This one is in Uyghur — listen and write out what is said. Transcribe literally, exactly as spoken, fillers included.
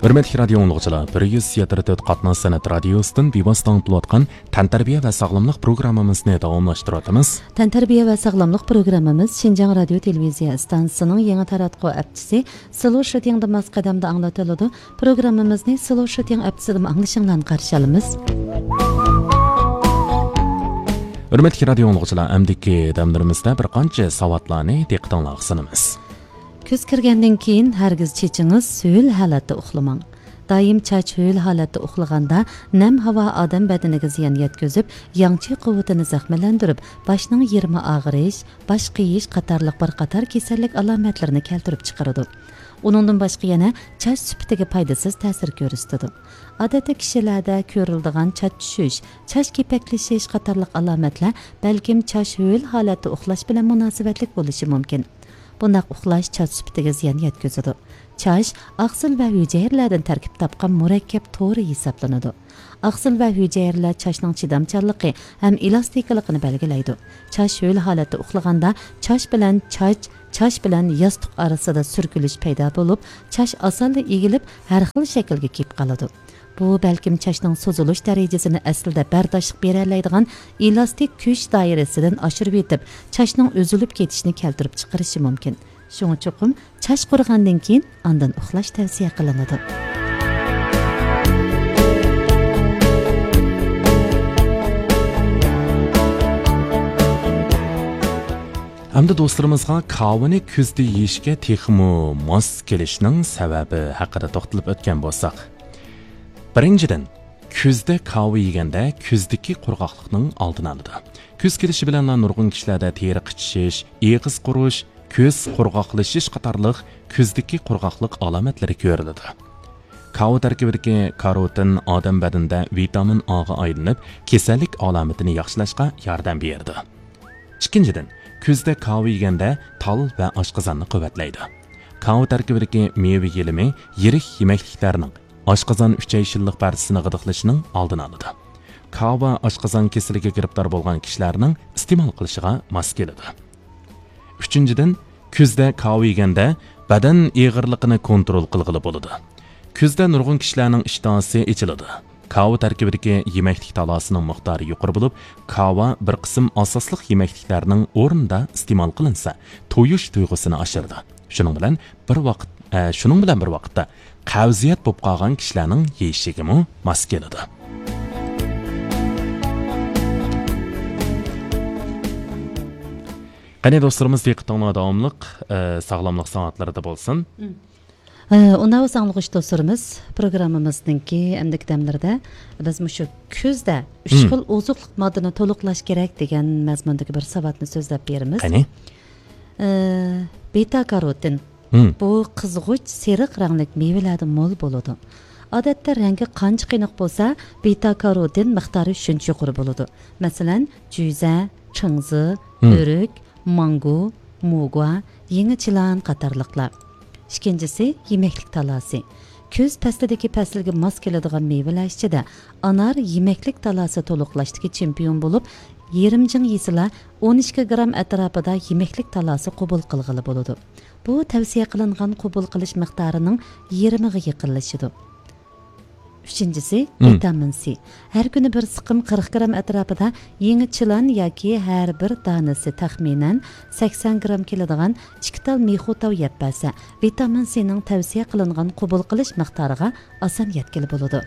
ھۆرمەتلىك رادىيو ئاڭلىغۇچىلار، بىر يۈز يەتتە تۆت قاتناش سەنئەت رادىيوسىدىن بىۋاسىتە ئاڭلىتىلىۋاتقان تەنتەربىيە ۋە ساغلاملىق پروگراممىمىزنى داۋاملاشتۇرۇۋاتىمىز. تەنتەربىيە ۋە ساغلاملىق پروگراممىمىز شىنجاڭ رادىيو تېلېۋىزىيە ئىستانسىسىنىڭ يېڭى تاراتقۇ ئەپچىسى سلو شىتىڭدا ماس قەدەمدە ئاڭلىتىلىدۇ. پروگراممىمىزنى سلو شىتىڭ ئەپچىسىدىمۇ ئاڭلىشىڭلارنى قارشى ئالىمىز. ھۆرمەتلىك رادىيو ئاڭلىغۇچىلار، ئەمدىكى دەملىرىمىزدە بىر قانچە ساۋاتلارنى دىققىتىڭلارغا سۇنىمىز. كۈز كىرگەندىن كېيىن ھەرگىز چېچىڭىز ھۆل ھالەتتە ئۇخلىماڭ. دائىم چاچ ھۆل ھالەتتە ئۇخلىغاندا، نەم ھاۋا ئادەم بەدىنىگە زىيان يەتكۈزۈپ، ياڭچى قۇۋۋىتىنى زەخىملەندۈرۈپ، باشنىڭ يېرىمى ئاغرىش، باش قېيىش قاتارلىق بىر قاتار كېسەللىك ئالامەتلىرىنى كەلتۈرۈپ چىقىرىدۇ. ئۇنىڭدىن باشقا يەنە چاچ سۈپىتىگە پايدىسىز تەسىر كۆرسىتىدۇ. ئادەتتە كىشىلەردە كۆرۈلىدىغان چاچ چۈشۈش، چاچ كېپەكلىشىش قاتارلىق ئالامەتلەر بەلكىم چاچ ھۆل ھالەتتە ئۇخلاش بىلەن مۇناسىۋەتلىك بولۇشى مۇمكىن. بۇنداق ئۇخلاش چاچ سۈپىتىگە زىيان يەتكۈزىدۇ. چاچ ئاقسىل ۋە ھۈجەيرىلەردىن تەركىب تاپقان مۇرەككەپ تورى ھېسابلىنىدۇ. ئاقسىل ۋە ھۈجەيرىلەر چاچنىڭ چىدامچانلىقى ھەم ئېلاستىكىلىقىنى بەلگىلەيدۇ. چاچ ھۆل ھالەتتە ئۇخلىغاندا، چاچ بىلەن چاچ، چاچ بىلەن ياستۇق ئارىسىدا سۈركىلىش پەيدا بولۇپ، چاچ ئاسانلا ئېگىلىپ، ھەر خىل شەكىلگە كېلىپ قالىدۇ. بۇ بەلكىم چاچنىڭ سوزۇلۇش دەرىجىسىنى ئەسلىدە بەرداشلىق بېرەلەيدىغان ئېلاستىك كۈچ دائىرىسىدىن ئاشۇرۇۋېتىپ، چاچنىڭ ئۈزۈلۈپ كېتىشىنى كەلتۈرۈپ چىقىرىشى مۇمكىن. شۇڭا چوقۇم چاچ قۇرۇغاندىن كېيىن ئاندىن ئۇخلاش تەۋسىيە قىلىنىدۇ. ئەمدى دوستلىرىمىزغا كاۋىنى كۈزدە يېيىشكە تېخىمۇ ماس كېلىشنىڭ سەۋەبى ھەققىدە توختىلىپ ئۆتكەن بولساق. بىرىنچىدىن، كۈزدە كاۋا يېگەندە كۈزدىكى قۇرغاقلىقنىڭ ئالدىنى ئالىدۇ. كۈز كېلىشى بىلەنلا نۇرغۇن كىشىلەردە تېرە قىچىشىش، ئېغىز قورۇش، كۆز قۇرغاقلىشىش قاتارلىق كۈزدىكى قۇرغاقلىق ئالامەتلىرى كۆرۈلىدۇ. كاۋا تەركىبىدىكى كاروتىن ئادەم بەدىنىدە ۋىتامىن ئاغا ئايلىنىپ، كېسەللىك ئالامىتىنى ياخشىلاشقا ياردەم بېرىدۇ. ئىككىنچىدىن، كۈزدە كاۋا يېگەندە تال ۋە ئاشقازاننى قۇۋۋەتلەيدۇ. كاۋا تەركىبىدىكى مېۋە يېلىمى يىرىك يېمەكلىكلەرنىڭ، ئاشقازان ئۈچەي شىللىق پەردىسىنى غىدىقلىشىنىڭ ئالدىنى ئالىدۇ. كاۋا ئاشقازان كېسىلىگە گىرىپتار بولغان كىشىلەرنىڭ ئىستېمال قىلىشىغا ماس كېلىدۇ. ئۈچىنچىدىن، كۈزدە كاۋا يېگەندە بەدەن ئېغىرلىقىنى كونترول قىلغىلى بولىدۇ. كۈزدە نۇرغۇن كىشىلەرنىڭ ئىشتىھاسى ئېچىلىدۇ. كاۋا تەركىبىدىكى يېمەكلىك تالاسىنىڭ مىقدارى يۇقىرى بولۇپ، كاۋا بىر قىسىم ئاساسلىق يېمەكلىكلەرنىڭ ئورنىدا ئىستېمال قىلىنسا، تويۇش تۇيغۇسىنى ئاشۇرىدۇ. شۇنىڭ بىلەن بىر ۋاقىت، ئە، شۇنىڭ بىلەن بىر ۋاقىتتا قەۋزىيەت بولۇپ قالغان كىشىلەرنىڭ يېيىشىگىمۇ ماس كېلىدۇ. قېنى دوستلىرىمىز، دىققىتىڭلار داۋاملىق، ئە، ساغلاملىق ساۋاتلىرىدا بولسۇن. مم. ئە، ئۇنداق بولسا ئاڭلىغۇچى دوستلىرىمىز، پروگراممىمىزنىڭكى ئەمدىكى دەملىرىدە بىز مۇشۇ كۈزدە ئۈچ مم. خىل ئوزۇقلۇق ماددىنى تولۇقلاش كېرەك دېگەن مەزمۇندىكى بىر ساۋاتنى سۆزلەپ بېرىمىز. قېنى؟ ئە، بېتا كاروتىن. مم. بۇ قىزغۇچ سېرىق رەڭلىك مېۋىلەردە مول بولىدۇ. ئادەتتە رەڭگى قانچە قېنىق بولسا، بېتا كاروتىن مىقدارى شۇنچە يۇقىرى بولىدۇ. مەسىلەن، جۈزە، چىڭزى، مم. ئۆرۈك، مانگو، موگۇا، يېڭى چىلان قاتارلىقلار. ئىككىنچىسى، يېمەكلىك تالاسى. كۈز پەسلىدىكى پەسىلگە ماس كېلىدىغان مېۋىلەر ئىچىدە ئانار يېمەكلىك تالاسى تولۇقلاشتىكى چېمپىيون بولۇپ، يېرىم جىڭ يېسىلا ئون ئىككى گرام ئەتراپىدا يېمەكلىك تالاسى قوبۇل قىلغىلى بولىدۇ. بۇ تەۋسىيە قىلىنغان قوبۇل قىلىش مىقدارىنىڭ يېرىمىغا يېقىنلىشىدۇ. ئۈچىنچىسى، مم. ۋىتامىن سى. ھەر كۈنى بىر سىقىم قىرىق گرام ئەتراپىدا يېڭى چىلان ياكى ھەر بىر دانىسى تەخمىنەن سەكسەن گرام كېلىدىغان ئىككى تال مىخۇ تاۋ يەپ بەرسە، ۋىتامىن سىنىڭ تەۋسىيە قىلىنغان قوبۇل قىلىش مىقدارىغا ئاسان يەتكىلى بولىدۇ.